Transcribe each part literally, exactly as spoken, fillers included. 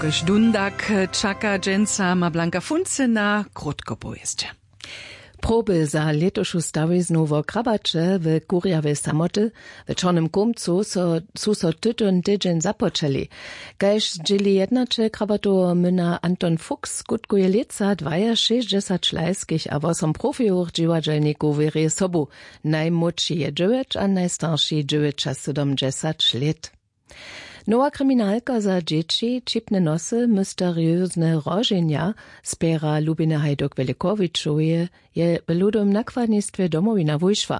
Kaž dundak čaka dźensa ma blanka funcy na krótkopowěsće. Proby za lětušu stawiznu wo krabaće w kurjawej samoty w čornym kumcu su so tutón tydźeń započeli. Kaž dźěli jednaćel krabatoweho myna anton fuchs skutkuje lětsa dwajašěsćdźesać lajskich a wosom profijowych dźiwadźelnikow wěrje sobu. Najmłódši je dźewjeć a najstarši dźewjećasydomdźesać lět. Nowa kriminalka za dźěći ćipne nosy mysteriozne roženja spěra lubiny hajduk wjelikowičoweje je w ludowym nakładnistwje domowina wušła.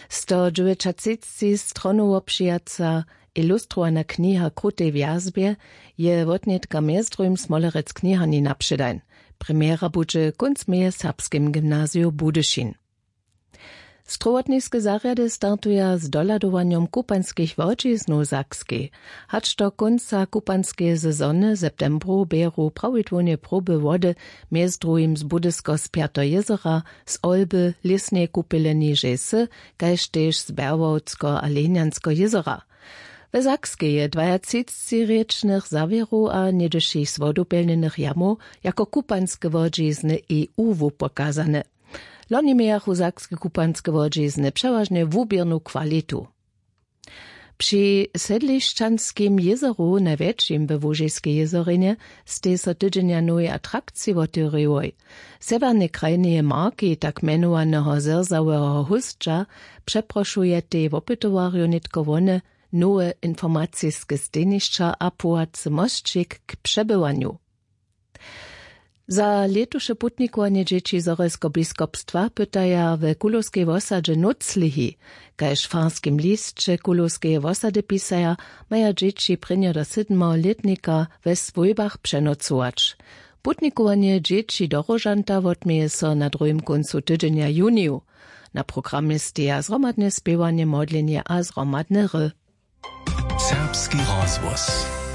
Stodźewjećatřicci stronowo přijaca ilustrowana kniha krutej wjazbje je wotnětka mjez druhim smolerec kniharni napředajn. Premjera budźe kónc meje w serbskim gymnaziju budyšin. Strowotniske zarjady startuja z dohladowanjom kupanskich łodźiznow w sakskej. Hač do kónca kupanskeje sezony w septembru běru prawidłownje proby wody, mjez druhim z budysko spjateho jězora, z olby lěsneje kupele nižej sy, kaž tež z berławskeho a lenjanskeho jězora. We sakskej je dwajatřicci rěčnych zawěrow a něhdyšich z wodopjelnjenych jamow jako kupanske łodźizny eu wupokazane. Loni mějachu sakske kupanske łodźizny přewažnje wuběrnu kwalitu. Při sedlišćanskim jězoru najwjetšim we łužiskej jězorinje, stej so tydźenja nowej atrakciji wotewriłoj. Sewjernej krajneje marki tak mjenowaneho zrzaweho hósća přeprošujetej wopytowarjow nětko wone, nowe informaciske stejnišća a płacy mosćik k přebywanju. Za lětuše putnikowanje dźěći zhorjelskobiskopstwa pytaja w kulowskej wosadźe nóclihi. Kaž w farskim lisće kulowskeje wosady pisaja, maja dźěći prěnjeho do sydmeho lětnika we swójbach přenocować. Putnikowanje dźěći do róžanta wotměje so na druhim kóncu tydźenja juniju. Na programje steja zhromadne spěwanje modlenje a zhromadne hry. Serbski rozhłos.